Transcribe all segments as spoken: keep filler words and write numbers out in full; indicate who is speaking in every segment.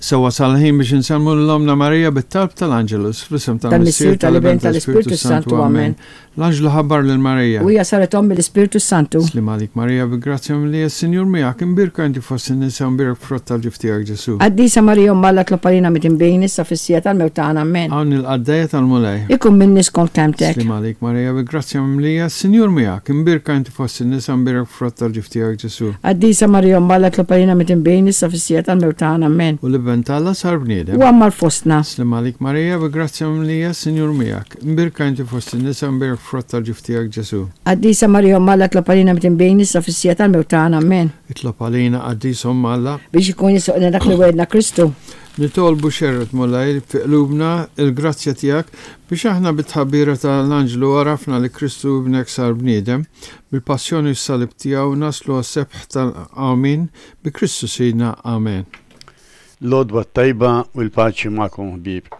Speaker 1: Issa wasal il-ħin biex insellmu lil Ommna Marija bit-talb tal-Angelus, fl-isem
Speaker 2: tal-Missier, tal-Iben, tal-Ispirtu Santu. Amen.
Speaker 1: L-Anġlu ħabbar lil Marija.
Speaker 2: U hija saret omm mill-Ispirtu Santu.
Speaker 1: Sliem għalik Marija, bi grazzja mimlija, s-Sinjur miegħek, imbierka inti fost in-nisa, imbierek frott tal-ġuf tiegħek Ġesu.
Speaker 2: Qaddisa Marija, Omm Alla, itlob għalina midinbin, issa fis-siegħa tal-mewt tagħna. Amen.
Speaker 1: Hawn il-qaddejja tal-Mulej.
Speaker 2: Ikun minni skont kelmtek.
Speaker 1: Sliem għalik Marija, bi grazzja mimlija, s-Sinjur miegħek, imbierka inti fost in-nisa, imbierek frott tal-ġuf tiegħek Ġesu.
Speaker 2: Qaddisa Marija, Omm Alla, itlob għalina midinbin, issa fis-siegħa tal-mewt tagħna. Amen.
Speaker 1: U l-Iben t'Alla sar bniedem.
Speaker 2: U għammar fostna.
Speaker 1: Sliem għalik Marija, bi grazzja mimlija, s-Sinjur miegħek, imbierka inti fost in-nisa, imbierek frott tal-ġuf tiegħek Ġesu.
Speaker 2: Qaddisa Marija, Omm Alla, itlob għalina midinbin, issa fis-siegħa tal-mewt tagħna. Amen.
Speaker 1: Itlob għalina, Qaddisa Omm Alla.
Speaker 2: Biex ikun jistħoqqilna dak li wegħedna Kristu.
Speaker 1: Nitolbu xerred, Mulej, fi qlubna il-grazzja tiegħek biex aħna bit-tħabbira tal-Anġlu għarafna li Kristu ibnek sar bniedem, bil-passjoni u s-salib tiegħu naslu għas-sebħ tal-qawmien bi Kristu Sidna. Amen.
Speaker 3: L-għodwa t-tajba u l-paċi magħkom, ħbieb.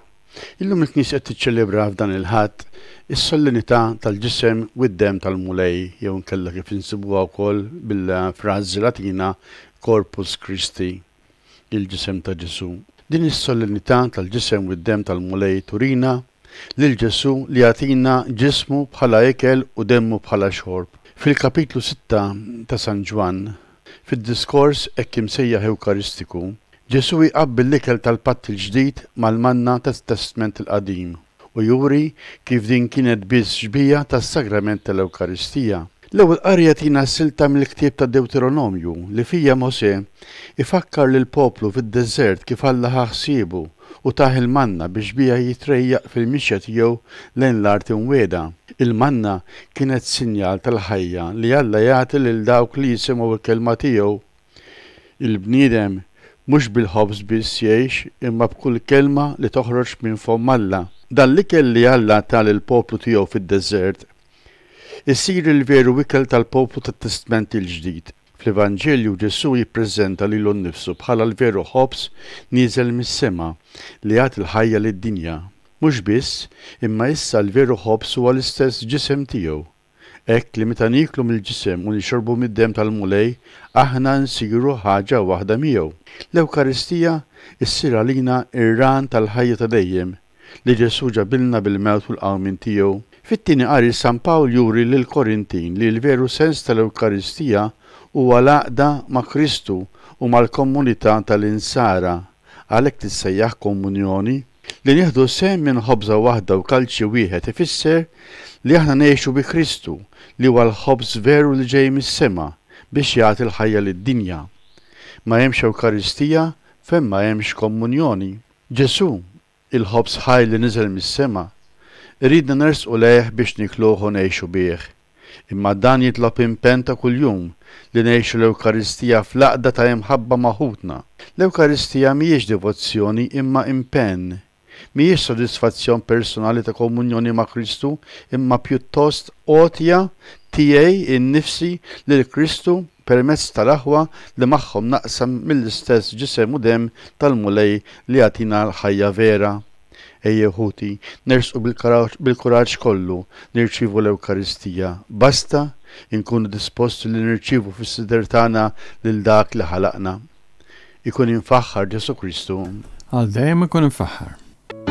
Speaker 3: Illum il-Knisja qed tiċċelebra f'dan il-Ħadd is-solennità tal-ġisem u d-dem tal-Mulej, jew inkella kif insibuha wkoll bil-frażi Latina Corpus Christi, il-ġisem ta' Ġesu. Din is-solennità tal-ġisem u d-dem tal-Mulej turina lil Ġesu li jagħtina ġismu bħala ikel u demmu bħala xorb. Fil-kapitlu sitta ta' San Ġwann, fid-diskors hekk imsejjaħ Ewkaristiku, Ġesu jqabbel l-ikel tal-Patt il-Ġdid mal-manna tat-Testment il-Qadim u juri kif din kienet biss xbieha tas-sagrament tal-Ewkaristija. L-ewwel qari jagħtina silta mill-ktieb ta' Deuteronomju li fija Mosè ifakkar lil poplu fid-deżert kif Alla ħa ħsiebu u tah il-manna biex biha jitrejjaq fil-mixja tiegħu lejn l-art imwiegħda. Il-manna kienet sinjal tal-ħajja li Alla jagħti lil dawk li jisimgħu l-kelma tiegħu. Il-bniedem mhux bil-ħobż biss jgħix imma b'kull kelma li toħroġ minn fomm Alla. Dan l-ikel li Alla ta lill-poplu tiegħu fid-deżert isir il-veru ikel tal-poplu tat-Testment il-Ġdid. Fl-Evanġelju Ġesu jippreżenta lilu nnifsu bħala l-veru ħobż nieżel mis-sema li jagħti l-ħajja lid-dinja. Mhux biss, imma issa l-veru ħobż huwa l-istess ġisem tiegħu. Hekk li meta nieklu mill-ġisem u nixorbu mid-dem tal-Mulej, aħna nsiru ħaġa waħda miegħu. L-Ewkaristija ssir għalina ir-ran tal-ħajja ta' dejjem li Ġesu ġabilna bil-mewt u l-qawmien tiegħu. Fit-tieni qari San Pawl juri lil Korintin li l-veru sens tal-Ewkaristija huwa l-għaqda ma' Kristu u mal-komunità tal-insara, għalhekk tissejjaħ komunjoni. Li nieħdu sehem minn ħobża waħda u kalċi wieħed ifisser li aħna ngħixu bi Kristu li huwa l-ħobż veru li ġej mis-sema biex jagħti l-ħajja lid-dinja. Ma hemmx Ewkaristija fejn ma hemmx komunjoni. Ġesu, il-ħobż ħaj li niżel mis-sema, iridna nersqu lejh biex nikluh u ngħixu bih. Imma dan jitlob impenn ta' kuljum li ngħixu l-Ewkaristija fl-għaqda ta' imħabba ma' ħutna. L-Ewkaristija mhijiex devozzjoni imma impenn. Mhijiex sodisfazzjon personali ta' komunjoni ma' Kristu, imma pjuttost għotja tiegħi innifsi lil Kristu permezz tal-aħwa li magħhom naqsam mill-istess ġisem u dem tal-Mulej li jagħtina l-ħajja vera. Ejjew ħuti, nersqu bil-kuraġġ kollu nirċievu l-Ewkaristija. Basta inkunu disposti li nirċievu fis-sider tagħna lil dak li ħalaqna. Ikun imfaħħar Ġesu Kristu.
Speaker 1: Għal dejjem ikun imfaħħar.